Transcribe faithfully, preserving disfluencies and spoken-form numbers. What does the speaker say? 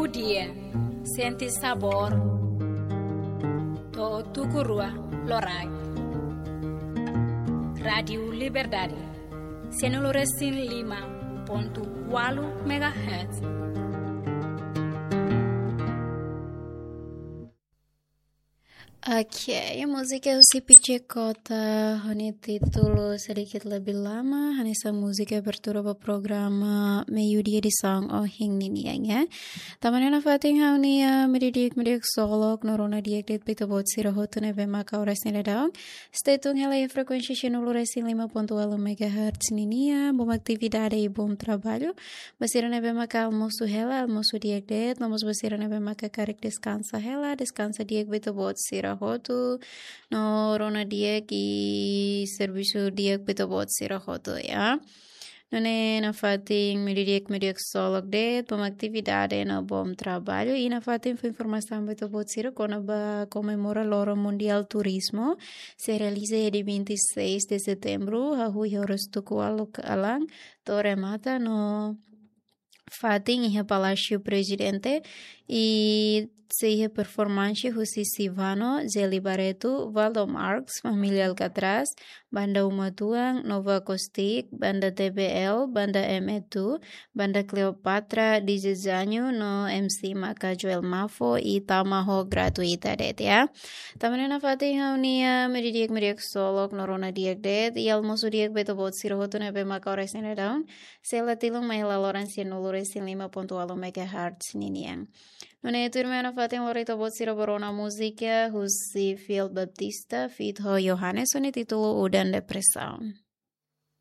Dia, sente sabór. To'o tuku rua loraik. Rádiu Liberdade, sianulu resin lima pontu ualu megahertz. Oke, múzika husi Pichekota ho nia títulu Sedikit Lebih Lama, hanesan múzika abertura ba programa Meiudia edisaun ohin ninian, ya. Tanba ne'e nafatin ha'u-nia, ah, meiudia di'ak, meiudia di'ak ksolok, no rona di'ak de'it ba ita-boot sira hotu ne'ebé maka oras ne'e daudaun stay tune hela iha frekuénsia sianulu resin lima pontu ualu megahertz ninian, bom atividade i bom trabalho. Ba sira ne'ebé maka almosu hela, almosu di'ak de'it, no mós ba sira ne'ebé maka karik deskansa hela, deskansa di'ak ba ita-boot sira hotu, no rona di'ak i servisu di'ak ba ita-boot sira hotu, ya. Nune'e nafatin meiudia di'ak, meiudia di'ak ksolok de'it, bom atividade no bom trabalho, i nafatin fó informasaun ba ita-boot sira kona-ba komemora Loron Mundiál Turizmu, sei realiza iha dia vinte e seis de setembro, hahú iha oras tuku ualu kalan, to'o remata no fatin iha Palásiu Prezidente, i sei iha performansi husi Sivano, Zeli Barreto, Valdo Marx, Família Alcatraz, Banda Uma Tuang, Nova Acústica, Banda T B L, Banda M E two, Banda Cleopatra, D J Zanho, no M C maka Joel Mafo, i tama ho gratuita de'it, ya. Tanba ne'e nafatin ha'u-nia meiudia di'ak, meiudia di'ak ksolok, no rona di'ak de'it, i almosu di'ak ba ita-boot sira hotu ne'ebé maka oras ne'e daudaun sei la tilun mai hela loron sianulu resin lima pontu ualu megahertz ninian. Nune'e tuirmai nafatin lori ita-boot sira ba rona múzika husi Fiel Baptista feat ho Johannes, ho nia títulu Udan Depresaun.